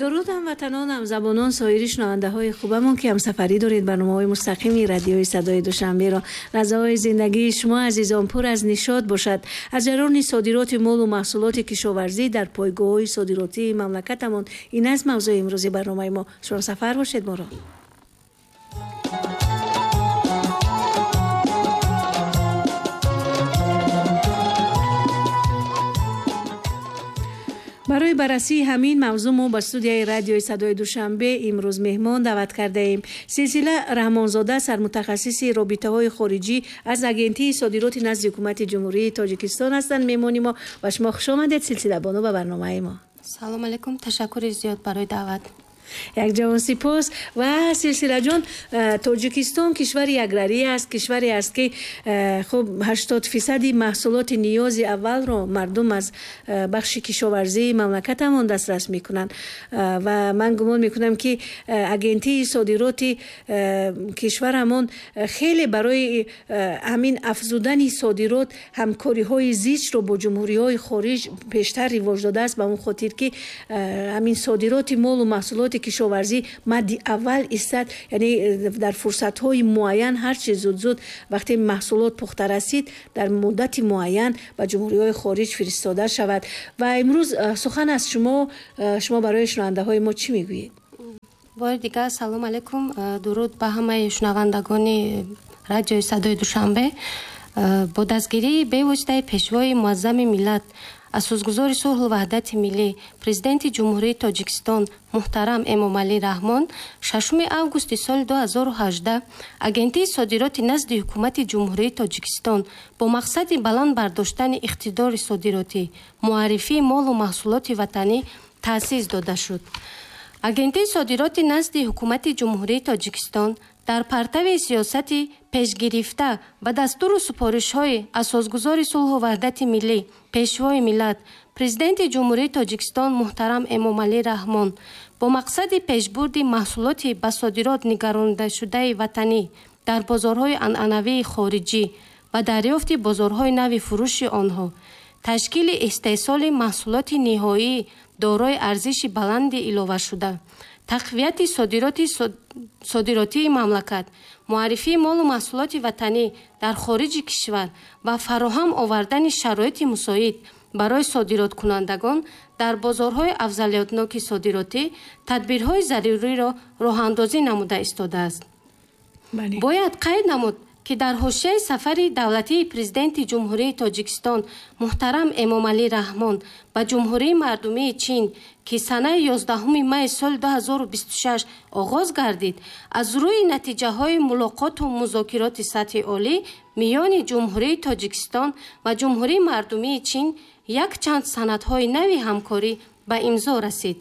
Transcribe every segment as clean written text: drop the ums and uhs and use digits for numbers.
Дуруд ҳамватанон, ҳамзабонон, соири шунавандаҳои хубамон, ки ҳамсафарӣ доред барномаҳои мустақими радиои Садои Душанберо. Лаҳзаҳои зиндагии шумо, азизон, пур аз нишот бошад. Аз ҷараёни содироти молу маҳсулоти кишоварзӣ дар пойгоҳҳои содиротии мамлакатамон, ин аст мавзӯи имрӯзи барномаи мо. Шумо сафар бошед моро. Барои баррасии ҳамин мавзӯъ мо ба студияи радиои Садои Душанбе имрӯз меҳмон даъват кардаем. Силсила Раҳмонзода, сармутахассиси робитаҳои хориҷӣ аз Агентии содироти назди Ҳукумати Ҷумҳурии Тоҷикистон ҳастанд меҳмони мо. Ва шумо хуш омадед, Силсила бону, ба барномаи мо. Салом алейкум, ташаккури зиёд барои даъват. Як ҷавон сипос. Ва Силсилаҷон, Тоҷикистон кишвари аграрӣ аст, кишваре аст, ки хуб 80% маҳсулоти ниёзи аввалро мардум аз бахши кишоварзии мамлакатамон дастрас мекунанд. Ва ман гумон мекунам, ки Агентии содироти кишварамон хеле барои ҳамин афзудани содирот ҳамкориҳои зичро бо ҷумҳуриҳои хориҷ пештар ривоҷ додааст, ба он хотир ки ҳамин содироти молу маҳсулоти кишоварзӣ мадди аввал истад, яъне дар фурсатҳои муайян ҳарчи зуд-зуд вақте маҳсулот пухта расид, дар муддати муайян ба ҷумҳуриҳои хориҷ фиристода шавад. Ва имрӯз сухан аз шумо, шумо барои шунавандаҳои мо чӣ мегӯед? Бори дигар салом алейкум, дуруд ба ҳамаи шунавандагони радиои Садои Душанбе. Бо дастгирии бевоситаи Пешвои муаззами миллат, асосгузори сулҳу ваҳдати миллӣ, Президенти Ҷумҳурии Тоҷикистон муҳтарам Эмомалӣ Раҳмон, 6 августи соли 2018 Агентии содироти назди Ҳукумати Ҷумҳурии Тоҷикистон бо мақсади баланд бардоштани иқтидори содиротӣ, муаррифии молу маҳсулоти ватанӣ таъсис дода шуд. Агентии содироти назди Ҳукумати Ҷумҳурии Тоҷикистон дар партави сиёсати пешгирифта ба дастуру супоришҳои асосгузори сулҳу ваҳдати миллӣ, Пешвои миллат, Президенти Ҷумҳурии Тоҷикистон муҳтарам Эмомалӣ Раҳмон бо мақсади пешбурди маҳсулоти ба содирот нигарондашудаи ватанӣ дар бозорҳои анъанавии хориҷӣ ва дарёфти бозорҳои нави фурӯши онҳо, ташкили истеҳсоли маҳсулоти ниҳоӣ дорои арзиши баланди иловашуда, тақвияти содиротии мамлакат, муаррифии молу маҳсулоти ватанӣ дар хориҷи кишвар ва фароҳам овардани шароити мусоид барои содироткунандагон дар бозорҳои афзалиятноки содиротӣ тадбирҳои заруриро роҳандозӣ намуда истодааст. Бояд қайд намуд, ки дар ҳошияи сафари давлатии Президенти Ҷумҳурии Тоҷикистон муҳтарам Эмомалӣ Раҳмон ба Ҷумҳурии Мардумии Чин, ки санаи 11 майи соли 2026 оғоз гардид, аз рӯи натиҷаҳои мулоқоту музокироти сатҳи олӣ миёни Ҷумҳурии Тоҷикистон ва Ҷумҳурии Мардумии Чин якчанд санадҳои нави ҳамкорӣ ба имзо расид.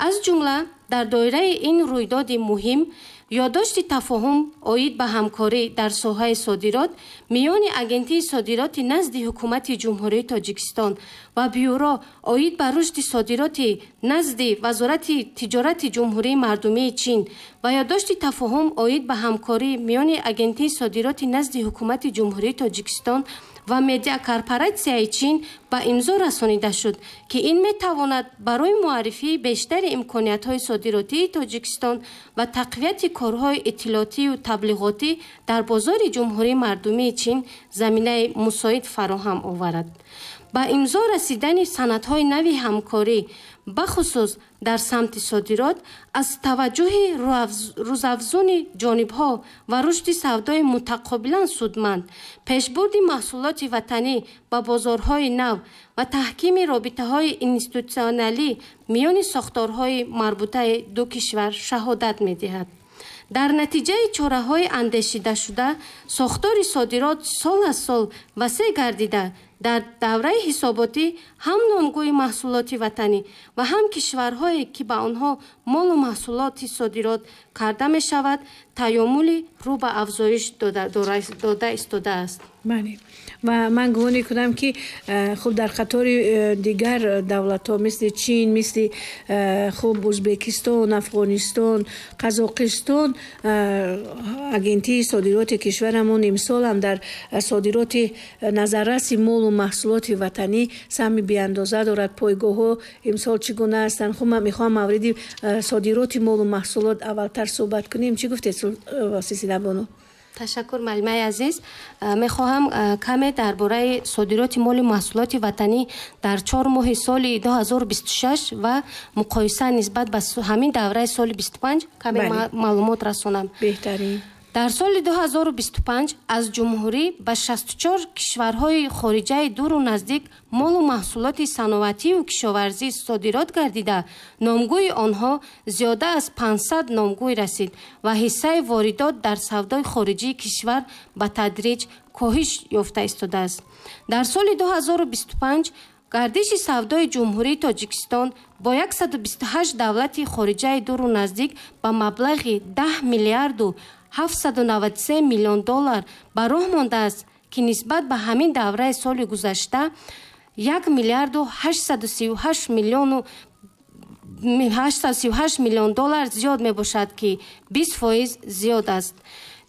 Аз ҷумла дар доираи ин рӯйдоди муҳим ёддошти тафоҳум оид ба ҳамкорӣ дар соҳаи содирот миёни Агентии содироти назди Ҳукумати Ҷумҳурии Тоҷикистон ва Бюро оид ба рушди содироти назди Вазорати тиҷорати Ҷумҳурии Мардумии Чин ва ёддошти тафоҳум оид ба ҳамкорӣ миёни Агентии содироти назди Ҳукумати Ҷумҳурии Тоҷикистон ва медиакорпоратсияи Чин ба имзо расонида шуд, ки ин метавонад барои муаррифии бештари имкониятҳои содиротии Тоҷикистон ва тақвияти корҳои иттилоотию таблиғотӣ дар бозори Ҷумҳурии Мардумии Чин заминаи мусоид фароҳам оварад. Ба имзо расидани санадҳои нави ҳамкорӣ, бахусус дар самти содирот, аз таваҷҷӯҳи рӯзафзуни ҷонибҳо ва рушди савдои мутақобилан судманд, пешбурди маҳсулоти ватанӣ ба бозорҳои нав ва таҳкими робитаҳои институтсионалӣ миёни сохторҳои марбутаи ду кишвар шаҳодат медиҳад. Дар натиҷаи чораҳои андешидашуда сохтори содирот сол аз сол васеъ гардида, дар давраи ҳисоботӣ ҳам номгӯи маҳсулоти ватанӣ ва ҳам кишварҳое, ки ба онҳо молу маҳсулоти содирот карда мешавад, таёмули рӯ ба афзоиш дода истодааст. Бале, ва ман гумон мекунам, ки хуб, дар қатори дигар давлатҳо, мисли Чин, мисли хуб, Ӯзбекистон, Афғонистон, Қазоқистон, агентии содироти кишварамон имсол ҳам дар содироти назарраси молу маҳсулоти ватанӣ саҳми беандоза дорад. Пойгоҳҳо имсол чӣ гуна ҳастанд? Хуб, ман мехоҳам мавриди содироти молу маҳсулот аввалтар суҳбат кунем. Чӣ гуфтед, Силсилабону? Ташаккур, муаллимаи азиз. Мехоҳам каме дар бораи содироти моли маҳсулоти ватанӣ дар 4 моҳи соли 2026 ва муқоиса нисбат ба ҳамин давраи соли 25 каме маълумот расонам. Беҳтарин. Дар соли 2025 аз ҷумҳурӣ ба 64 кишварҳои хориҷаи дуру наздик молу маҳсулоти саноативу кишоварзӣ содирот гардида, номгӯи онҳо зиёда аз 500 номгӯй расид ва ҳиссаи воридот дар савдои хориҷии кишвар ба тадриҷ коҳиш ёфта истодааст. Дар соли 2025 гардиши савдои Ҷумҳурии Тоҷикистон бо 128 давлати хориҷаи дуру наздик ба маблағи 10 миллиарду 793 миллион доллар ба роҳ мондааст, ки нисбат ба ҳамин давраи соли гузашта 1 миллиарду 838 миллиону 838 миллион доллар зиёд мебошад, ки 20% зиёд аст.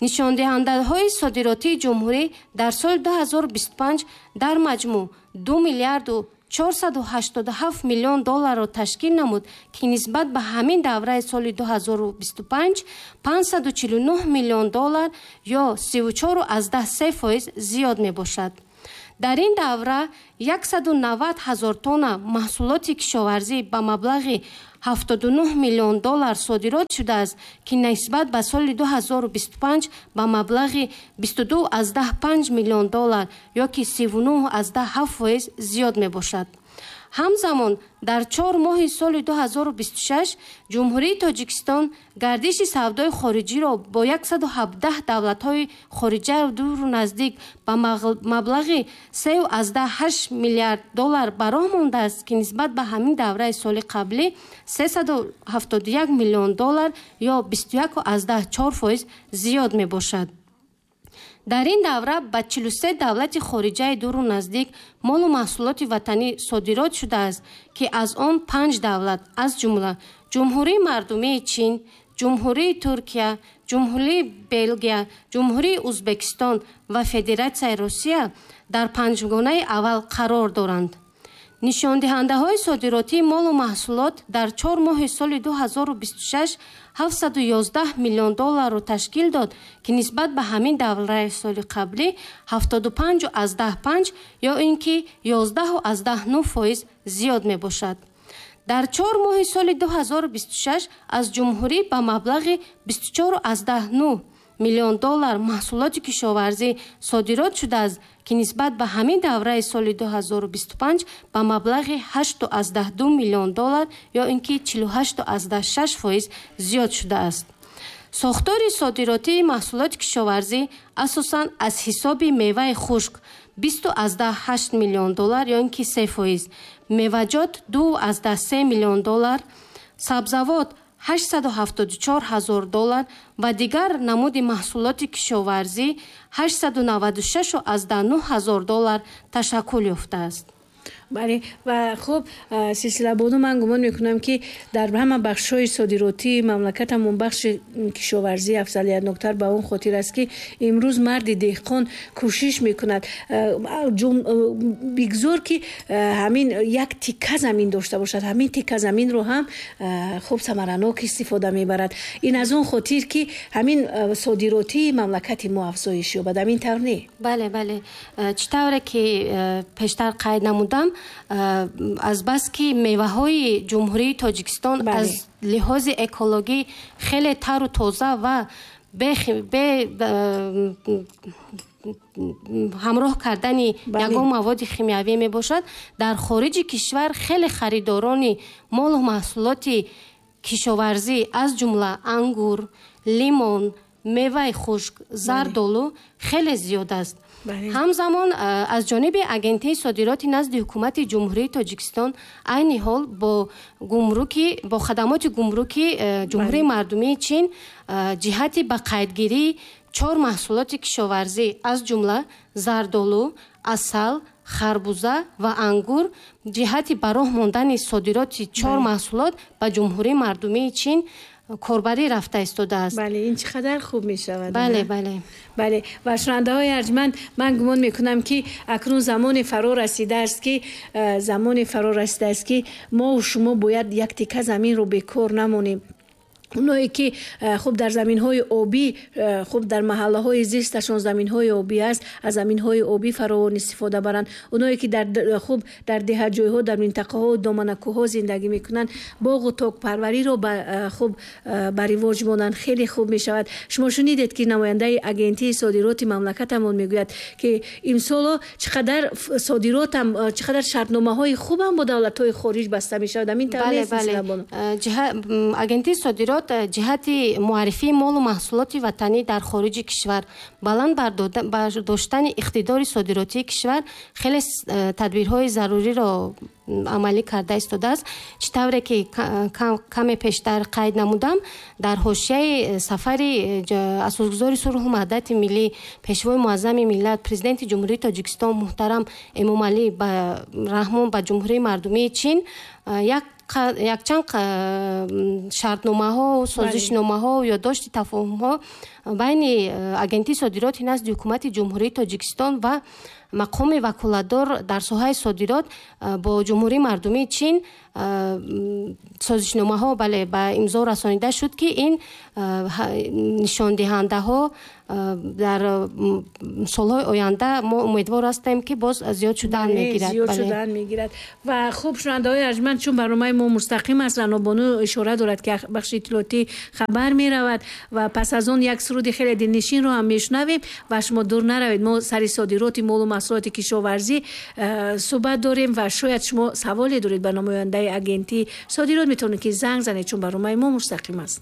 Нишондиҳандаҳои содиротии ҷумҳурӣ дар соли 2025 дар маҷмӯъ 2 миллиарду 487 миллион долларро ташкил намуд, ки нисбат ба ҳамин давраи соли 2025 549 миллион доллар ё 34,3% зиёд мебошад. Дар ин давра 190 ҳазор тонна маҳсулоти кишоварзӣ ба маблағи 79 миллион доллар содирот шудааст, ки нисбат ба соли 2025 ба маблағи 22,5 миллион доллар ё ки 39,7% зиёд мебошад. Ҳамзамон дар 4 моҳи соли 2026 Ҷумҳурии Тоҷикистон гардиши савдои хориҷиро бо 117 давлатҳои хориҷаю дуру наздик ба маблағи 3,8 миллиард доллар ба роҳ мондааст, ки нисбат ба ҳамин давраи соли қаблӣ 371 миллион доллар ё 21,4% зиёд мебошад. Дар ин давра ба 43 давлати хориҷаи дуру наздик молу маҳсулоти ватанӣ содирот шудааст, ки аз он панҷ давлат, аз ҷумла Ҷумҳурии Мардумии Чин, Ҷумҳурии Туркия, Ҷумҳурии Белгия, Ҷумҳурии Ӯзбекистон ва Федератсияи Русия дар панҷгонаи аввал қарор доранд. Нишондиҳандаҳои содиротии молу маҳсулот дар 4 моҳи соли 2026 711 миллион долларро ташкил дод, ки нисбат ба ҳамин давраи соли қаблӣ 75,5 ё ин ки 11,9% зиёд мебошад. Дар 4 моҳи соли 2026 аз ҷумҳурӣ ба маблағи 24,9 миллион доллар маҳсулоти кишоварзӣ содирот шудааст, ки нисбат ба ҳамин давраи соли 2025 ба маблағи 8,2 миллион доллар ё ин ки 48,6% зиёд шудааст. Сохтори содиротии маҳсулоти кишоварзӣ асосан аз ҳисоби меваи хушк 20,8 миллион доллар ё ин ки 3%, меваҷот 2,3 миллион доллар, сабзавот 874 ҳазор доллар ва дигар намуди маҳсулоти кишоварзӣ 896,9 ҳазор доллар ташаккул ёфтааст. Бале, ва хуб, Силсилабону, ман гумон мекунам, ки дар ҳама бахшҳои содиротии мамлакатамон бахши кишоварзӣ афзалиятноктар, ба он хотир аст, ки имрӯз марди деҳқон кӯшиш мекунад, бигзор ки ҳамин як тикка замин дошта бошад, ҳамин тикка заминро ҳам хуб, самаранок истифода мебарад. Ин аз он хотир, ки ҳамин содиротии мамлакати мо афзоиш ёбад. Ҳамин тавр не? Бале, чӣ тавре ки пештар қайд намудам, азбаски меваҳои Ҷумҳурии Тоҷикистон аз лиҳози экологӣ хеле тару тоза ва бе ҳамроҳ кардани ягон маводи химиявӣ мебошад, дар хориҷи кишвар хеле харидорони молу маҳсулоти кишоварзӣ, аз ҷумла ангур, лимон, меваи хушк, зардолу хеле зиёд аст. Ҳамзамон аз ҷониби Агентии содироти назди Ҳукумати Ҷумҳурии Тоҷикистон айни ҳол бо гумруки, бо хадамоти гумруки Ҷумҳурии Мардумии Чин ҷиҳати ба қайдгирии 4 маҳсулоти кишоварзӣ, аз ҷумла зардолу, асал, харбуза ва ангур ҷиҳати ба роҳ мондани содироти 4 маҳсулот ба Ҷумҳурии Мардумии Чин корбарӣ рафта истодааст. Бале, ин чӣ қадар хуб мешавад. Бале, бале. Бале, ва шунавандаҳои арҷманд, ман гумон мекунам, ки акнун замоне фаро расидааст, ки мо шумо бояд як тика заминро бекор намонем. Оное ки хуб дар заминҳои обӣ, хуб дар маҳаллаҳои зисташон заминҳои обӣ аст, аз заминҳои обӣ фаровон истифода баранд. Оное ки хуб дар деҳаҷойҳо, дар минтақаҳо, доманакӯҳҳо зиндагӣ мекунанд, боғу токпарвариро хуб ба ривоҷ монанд, хеле хуб мешавад. Шумо шунидед, ки намояндаи агентии содироти мамлакатамон мегӯяд, ки имсоло чӣ қадар содиротам, чӣ қадар шартномаҳои хубам бо давлатҳои хориҷ баста мешавад. Ҳамин тавр нест? Агентии содирот ҷиҳати муаррифии молу маҳсулоти ватанӣ дар хориҷи кишвар, баланд бардоштани иқтидори содиротии кишвар хеле тадбирҳои заруриро амалӣ карда истодааст. Чӣ тавре ки каме пештар қайд намудам, дар ҳошияи сафари асосгузори сулҳу ваҳдати миллӣ, пешвои муаззами миллат, президенти Ҷумҳурии Тоҷикистон муҳтарам Эмомалӣ Раҳмон ба Ҷумҳурии Мардумии Чин якчанд шартномаҳо, созишномаҳо, ёддошти тафоҳумҳо байни агентии содироти назди ҳукумати Ҷумҳурии Тоҷикистон ва мақоми ваколатдор дар соҳаи содирот бо Ҷумҳурии Мардумии Чин созишномаҳо, бале, ба имзо расонида шуд, ки ин нишондиҳандаҳо дар солҳои оянда мо умедвор ҳастем, ки боз зиёд шудан мегирад. Зиёд шудан мегирад. Ва хуб, шунавандаҳои арҷманд, чун барномаи мо мустақим аст, Ранобону ишора дорад, ки бахши иттилоотӣ хабар меравад ва пас аз он як суруди хеле дилнишинро ҳам мешунавем ва шумо дур наравед. Мо сари содироти молу маҳсулоти кишоварзӣ суҳбат дорем ва шояд шумо саволе доред ба намояндаи агентии содирот, метавонед ки занг занед, чун барномаи мо мустақим аст.